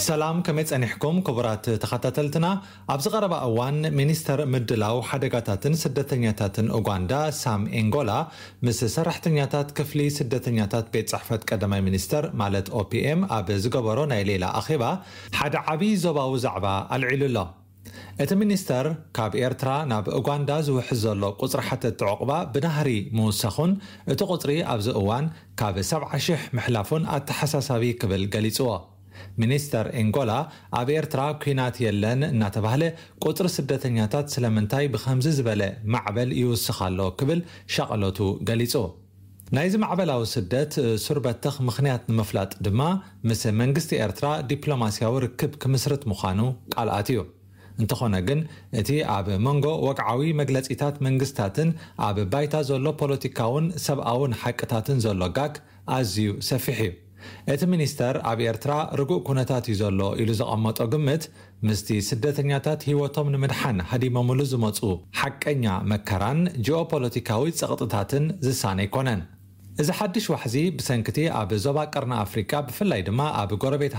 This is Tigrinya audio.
ሰላም፣ ከመይ ጸኒሕኩም ክቡራት ተኸታተልትና? ኣብዚ ቀረባ እዋን ሚኒስተር ምድላው ሓደጋታትን ስደተኛታትን ኡጋንዳ ሳም ኤንጎላ ምስ ሰራሕተኛታት ክፍሊ ስደተኛታት ቤት ጽሕፈት ቀዳማይ ሚኒስተር ማለት ኦፒኤም ኣብ ዝገበሮ ናይ ሌላ ኣኼባ ሓደ ዓቢ ዞባዊ ዛዕባ ኣልዒሉ ኣሎ። እቲ ሚኒስተር ካብ ኤርትራ ናብ ኡጋንዳ ዝውሕዝ ዘሎ ቁጽሪ ሓተትቲ ዑቕባ ብናህሪ ምውሳኹን እቲ ቁጽሪ ኣብዚ እዋን ካብ ሰብዓ ሽሕ ምሕላፉን ኣተሓሳሳቢ ክብል ገሊጽዎ። ሚኒስተር ኤንጎላ ኣብ ኤርትራ ኲናት የለን እናተባህለ ቁጽሪ ስደተኛታት ስለምንታይ ብኸምዚ ዝበለ ማዕበል ይውስኽ ኣሎ ክብል ሻቕሎቱ ገሊጹ። ናይዚ ማዕበላዊ ስደት ሱር በተኽ ምኽንያት ንምፍላጥ ድማ ምስ መንግስቲ ኤርትራ ዲፕሎማስያዊ ርክብ ክምስርት ምዃኑ ቃል ኣትዩ። እንተኾነ ግን እቲ ኣብ መንጎ ወግዓዊ መግለጺታት መንግስታትን ኣብ ባይታ ዘሎ ፖለቲካውን ሰብኣውን ሓቅታትን ዘሎ ጋግ ኣዝዩ ሰፊሕ እዩ። እቲ ሚኒስተር ኣብ ኤርትራ ርጉእ ኩነታት እዩ ዘሎ ኢሉ ዘቐመጦ ግምት ምስቲ ስደተኛታት ህይወቶም ንምድሓን ሃዲሞምሉ ዝመጹ ሓቀኛ መከራን ጂኦፖለቲካዊ ጸቕጥታትን ዝሳነ ኣይኮነን። እዚ ሓድሽ ዋሕዚ ብሰንክቲ ኣብ ዞባ ቀርኒ ኣፍሪቃ ብፍላይ ድማ ኣብ ጎረቤት